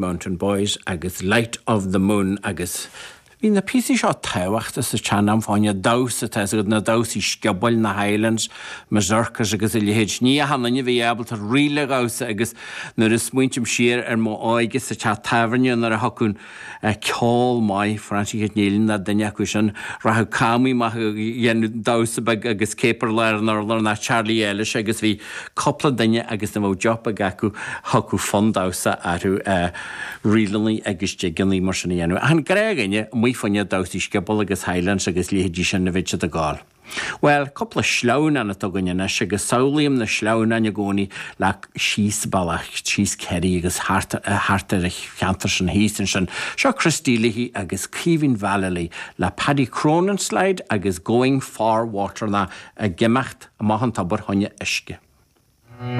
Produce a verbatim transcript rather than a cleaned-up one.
Mountain Boys agus Light of the Moon agus bhí na píosaí seo tábhachtach sa tsean-am fá choinne damhsa tá a fhios agat na damhsaí sciobóil na Highlands, Mazurkas agus a leithéid. Ní achan duine a bhí ábalta ríl a dhamhsa agus nuair a smaointím siar ar mo óige sa teach tábhairne nuair a thiocfadh ceol maith, Francie Kate Nealon ná duine acu sin, rachadh Cammy amach ag déanamh damhsa beag agus caper lár an urláir ná Charlie Ellis agus bhí cúpla duine agus ní bheadh job beag acu thiocfadh fonn damhsa orthu ríleanna agus jigeanna mar sin a dhéanamh. Ach an gnáthdhuine amuigh fá choinne damhsaí sciobóil agus Highlands agus leithéidí sin a bheadh siad ag gabháil. Bhuel, cúpla sleamhnán atá againn anois agus samhlaím na sleamhnáin i gcónaí le síos bealach, síos Kerry agus thart, thart ar an cheantar sin thíos ansin. Seo Christy Leahy agus Caoimhín Vallely le Paddy Cronin slide agus Going for Water ná ag imeacht amach an tobar chun uisce.